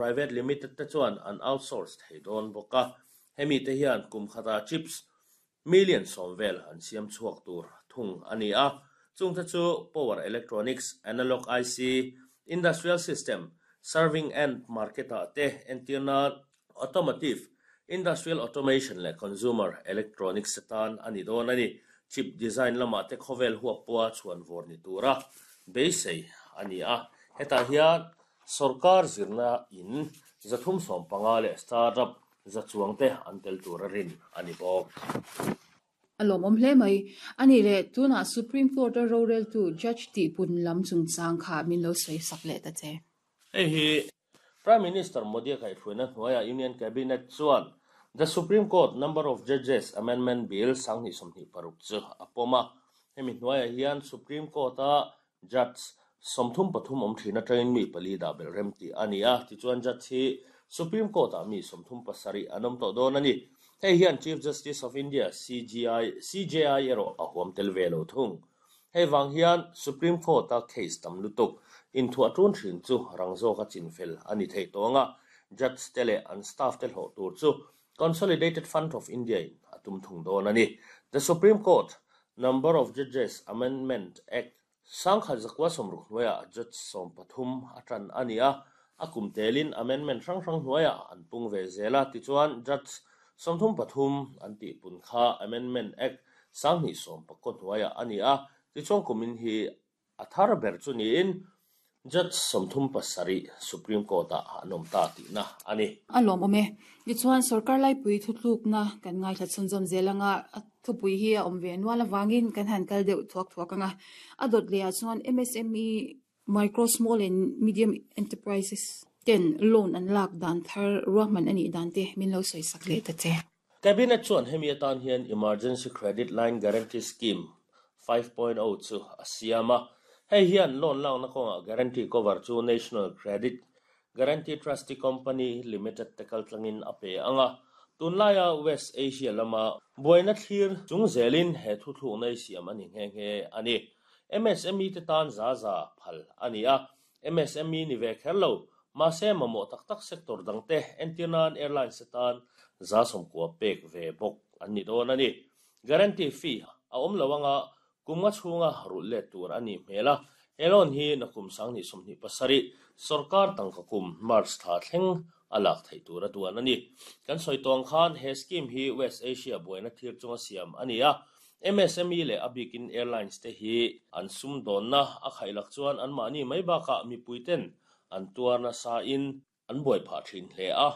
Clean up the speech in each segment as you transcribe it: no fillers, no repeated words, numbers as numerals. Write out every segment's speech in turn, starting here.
Private Limited te chuan an outsource thei dawn bawk a, hemi te hian kum khatah chips million 10 vel an siam chhuak tur thung a ni a, chungte chu power electronics, analog IC, industrial system, serving end market-ah te entir nan automotive, industrial automation leh consumer electronics atan a ni dawn a ni. Chip design lamah te khawvel huap pawha chhuan vawr ni tura beisei a ni a, hetah hian Sorkar zirna in 315 leh startup za chuang te an tel tur a rin a ni bawk. A lawmawm hle mai. A nih leh, tunah Supreme Court-a roreltu Judge tihpun lam chungchang kha min lo sawi sak leh ta che. Hei hi Prime Minister Modi-a kaihhruaina hnuaiah Union Cabinet chuan The Supreme Court Number of Judges Amendment Bill 2026 chu a pawm a. Hemi hnuaiah hian Supreme Court-a Judge 33 awm thin atangin mi pali dah belh rem tih a ni a, tichuan Judge hi Supreme Court-ah mi 37 an awm tawh dawn a ni. Hei hian Chief Justice of India, CGI, CJI erawh a huam tel ve lo thung. Hei vang hian Supreme Court-a case tam lutuk inthuah tun thin chu rang zawka chinfel a ni thei tawng a, Judge te leh an staff te hlawh tur chu Consolidated Fund of India in a tum thung dawn a ni. The Supreme Court, Number of Judges Amendment Act, 1960 hnuaiah Judge 13 a tan a ni a, a kum telin amendment hrang hrang hnuaiah an pung ve zel a, tichuan Judge 33 an tihpun kha Amendment Act 2019 hnuaiah a ni a, tichuan kumin hi A thar ber chu niin Judge 37 Supreme Court-ah an awm ta tihna a ni. A lawmawm e. Tichuan, sorkar laipui thutlukna kan ngaithla chhunzawm zel anga a thupui hi a awm ve nual avangin kan han kal deuh thuak thuak anga a dawt lehah chuan MSME, Micro, Small and Medium Enterprises, ten loan an lak dan thar ruahman a nih dan te min lo sawi sak leh ta che. Cabinet chuan hemi atan hian Emergency Credit Line Guarantee Scheme 5.0 chu a siam a. Hei hian loan lakna kawngah guarantee cover chu National Credit Guarantee Trustee Company Limited te kaltlangin a pe ang a. Tunlaia West Asia lama buaina thlir chung zelin he thuthlukna hi siam a ni nghe nghe a ni. MSME te tan za za phal a ni a. MSME ni ve kher lo, mahse mamawh tak tak sector dangte entir nan airlines atan 90% pek ve bawk an ni dawn a ni. Guarantee fee a awm lo anga kum nga chhunga rulh let tur a nih hmel a, he loan hi nakum 2027 sorkar tangka kum March thla thleng a lak theih tur a duan a ni. Kan sawi tawng khan he scheme hi West Asia buaina thlir chunga siam a ni a, MSME leh a bikin airlines te hi an sumdawnna a khaihlak chuan anmahni mai bakah mipuiten an tuar nasa in an buai phah thin hle a,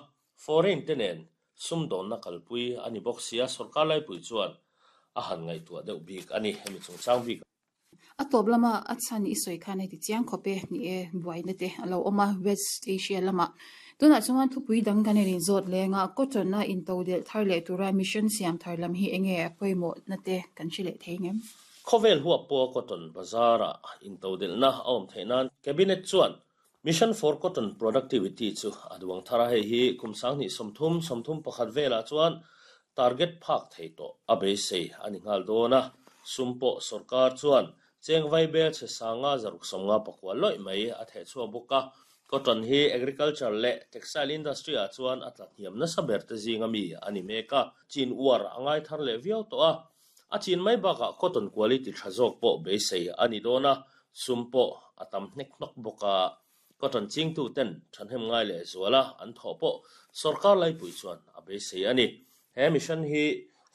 foreign te nen sumdawnna kalpui a ni bawk sia sorkar laipui chuan a han ngaihtuah deuh bik a ni hemi chungchang bik. A tawp lama a chhan i sawi khan heti chiang khawp e, ni e, buaina te a lo awm a West Asia lamah. Tunah chuan thupui dang kan in inzawt leng a, cotton a intodelh thar leh tura mission siam thar lam hi enge a pawimawhna te kan hre leh thei ngem? Khawvel huap pawha cotton bazar-a intodelhna a awm theih nan Cabinet chuan Mission for Cotton Productivity chu a duang thar a, hei hi kum 2030, 31 velah chuan target phak thei tawh a beisei a ni nghal dawn a, sum pawh sorkar chuan cheng vaibel chhe sanga 659 lawih mai a theh chhuak bawk a, cotton hi agriculture leh textile industry ah chuan a tla hniam nasa ber te zinga mi a ni mek a, chin uar a ngai thar leh viau tawh a, a chin mai bakah cotton quality tha zawk pawh beisei a ni dawn a, sum pawh a tam hnek hnawk bawk a. Cotton chingtu ten thahnem ngai leh zuala an thawh pawh sorkar laipui chuan a beisei a ni. He mission hi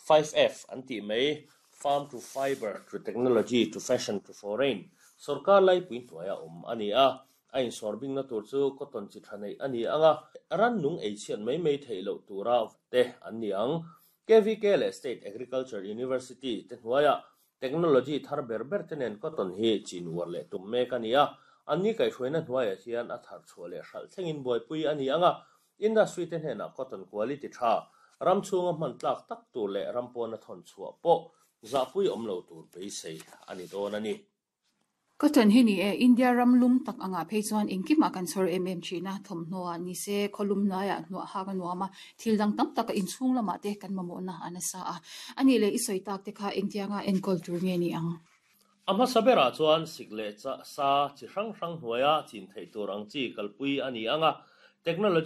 5F an tih mai, Farm to Fibre to Technology to Fashion to Foreign, sorkar laipui hnuaia awm a ni a. A insawrbingna tur chu cotton chi tha neih a ni ang a, rannung ei chhiat mai mai theih loh tura te an ni ang. KVK leh State Agriculture University te hnuaiah Technology thar ber ber te nen cotton hi chin uar leh tum mek a ni a, anni kaihhruaina hnuaiah hian a thar chhuah leh hralh thlengin buaipui a ni ang a, industry te hnenah cotton quality tha, ram chhunga hman tlak tak tur leh ram pawna thawn chhuah pawh zahpui awm lo tur beisei a ni dawn a ni. Cotton hi ni e, India ram lum tak angah phei chuan engkimah kan chhawr em em thin a, thawmhnaw ah ni se, khawlum hnuaiah hnuah hak a nuam a, thil dang tam taka inchhung lamah te kan mamawhna a nasa a. A nih leh i sawi tak te kha engtianga enkawl tur nge ni ang? A hmasa berah chuan sik leh sa chi hrang hrang hnuaia chin theih tur ang chi kalpui a ni ang a. Technology.